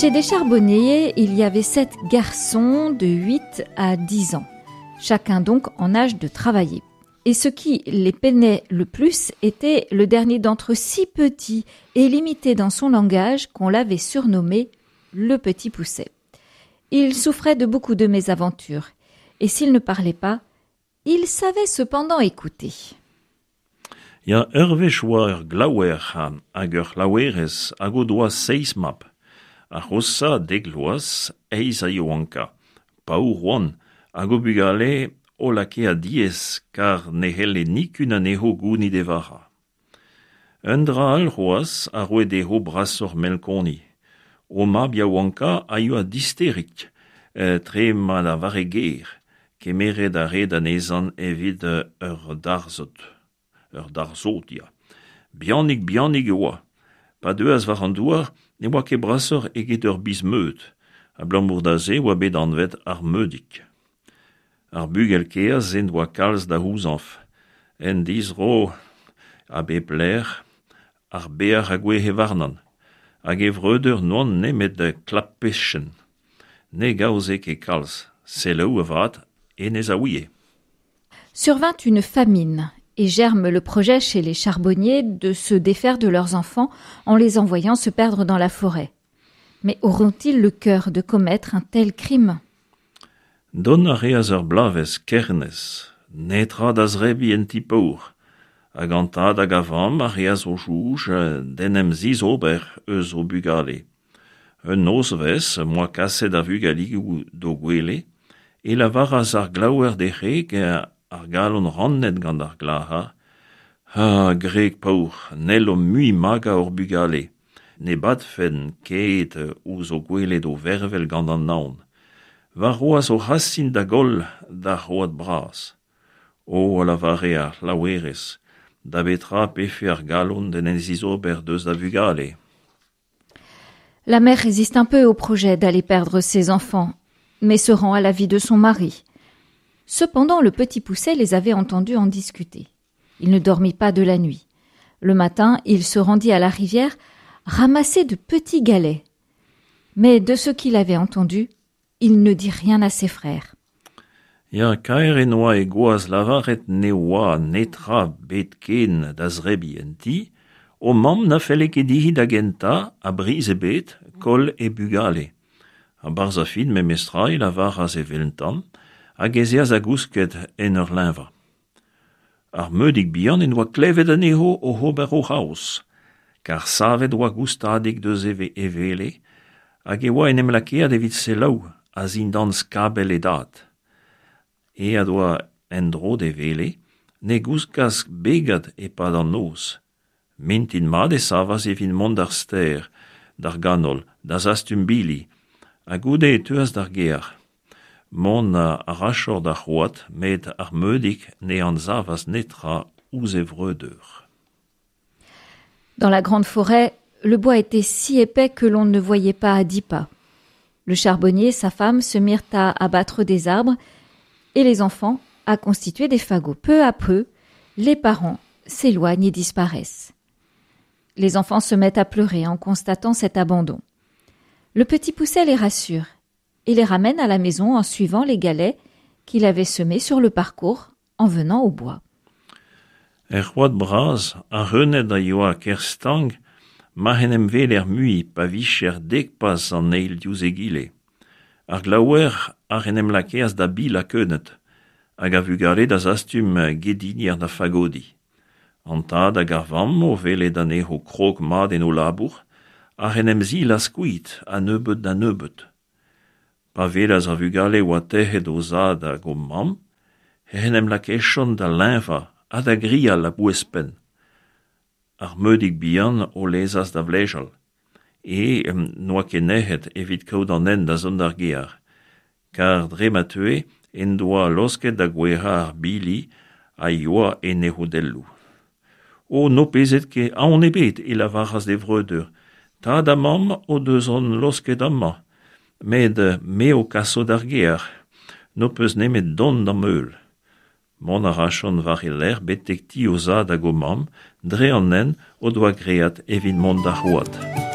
Chez des charbonniers, il y avait sept garçons de 8 à 10 ans, chacun donc en âge de travailler. Et ce qui les peinait le plus était le dernier d'entre eux si petit et limité dans son langage qu'on l'avait surnommé le petit pousset. Il souffrait de beaucoup de mésaventures, et s'il ne parlait pas, il savait cependant écouter. Ya, ur wech oa ur glaouer hag ur c'hlaouerez hag o doa seizh mab. Ar c'hoshañ, dek vloaz, eizh a yaouankañ. Paour oant, hag o bugale o lakae diaes kar ne c'helle nikun anezho gounit e vara. Un dra all c'hoazh a roe dezho brasoc'h melkoni. O mab yaouankañ a yoa disterik, tre ma lavare ger. Kemeret a raed anezhañ evit ur darzhod. Ur darzhod, ya. Bihanik-bihanik e oa. Pa deuas war an douar ne oa ket brasoc'h eget ur biz-meud. Abalamour da se e oa bet anvet ar Meudig. Ar bugel kaezh en doa kalz da c'houzañv. En dizro a bep lec'h ar beac'h a gouezhe warnañ. Hag e vreudeur n'oant nemet klapechenn. Ne gaoze ket kalz. Selaou avat, hennezh a ouie. Survint une famine et germe le projet chez les charbonniers de se défaire de leurs enfants en les envoyant se perdre dans la forêt. Mais auront-ils le cœur de commettre un tel crime? Dont a reas ur bloavezh kernez, netra da zebriñ en ti paour, hag an tad hag ar vamm a reas o soñj d'en em zizober eus o bugale. Un nozvezh m'oa kaset ar vugaligoù d'o gwele e lavaras ar glaouer d'e wreg ar galon rannet gant ar glac'har, Ah, gwreg paour, n'hellomp mui magañ hor bugale. Ne badfen ket ouzh o gwelet o vervel gant an naon. Warc'hoazh o c'hasin da goll d'ar c'hoad bras. O, a lavare ar c'hlaouerez, da betra 'pefe ar galon d'en em zizober deus da vugale? La mère résiste un peu au projet d'aller perdre ses enfants, mais se rend à l'avis de son mari. Cependant, le petit Poucet les avait entendus en discuter. Il ne dormit pas de la nuit. Le matin, il se rendit à la rivière ramasser de petits galets. Mais de ce qu'il avait entendu, il ne dit rien à ses frères. Ya, kaer en doa e gwaz lavaret ne oa netra 'bet ken da zebriñ en ti, o mamm na felle ket dezhi da gentañ, a briz ebet, koll he bugale. A-barzh ar fin memestra e lavaras eveltañ hag ez eas da gousket en ur leñvañ. Ar Meudig bihan en doa klevet anezho oc'h ober o c'haoz, kar savet oa goustadik deus e wele hag e oa en em lakaet evit selaou a-zindan skabell e dad. Aet oa en-dro d'e wele, ne gouskas begad e-pad an noz. Mintin mat e savas evit mont d'ar stêr, d'ar ganol, da zastum bili, ha goude e teuas d'ar gêr. Mont a rachor d'ar c'hoad, met ar Meudig ne anzavas netra ouzh e vreudeur. Dans la grande forêt, le bois était si épais que l'on ne voyait pas à dix pas. Le charbonnier et sa femme se mirent à abattre des arbres et les enfants à constituer des fagots. Peu à peu, les parents s'éloignent et disparaissent. Les enfants se mettent à pleurer en constatant cet abandon. Le petit Poucet les rassure et les ramène à la maison en suivant les galets qu'il avait semés sur le parcours en venant au bois. Er c'hoad bras, ar c'hreuned a yoa ker stank ma'c'h en em weler mui pa vijer dek pas an eil diouzh egile. Ar glaouer ac'h en em lakaas da bilañ keuneud, hag ar vugale da zastum gedinier da fagodiñ. An tad hag ar vamm o welet anezho krog mat en o labour ac'h en em zilas kuit a nebeut da nebeut. Pa welas ar vugale oa tec'het o zad hag o mamm ec'h en em lakejont da leñvañ ha da grial a-bouez-penn. Ar Meudig bihan o lezas da vlejal. E n'oa ket nec'het evit kaout an hent da zont d'ar gêr, kar dre ma teue en doa laosket da gouezhañ ar bili a yoa en e c'hodelloù. O n'ho pezet ket aon ebet, e lavaras d'e vreudeur, tad ha mamm o deus hon laosket amañ, met me ho kaso d'ar gêr, n'ho peus nemet dont d'am heul. Mont a rachont war e lerc'h betek ti o zad hag o mamm, dre an hent o doa graet evit mont d'ar c'hoad.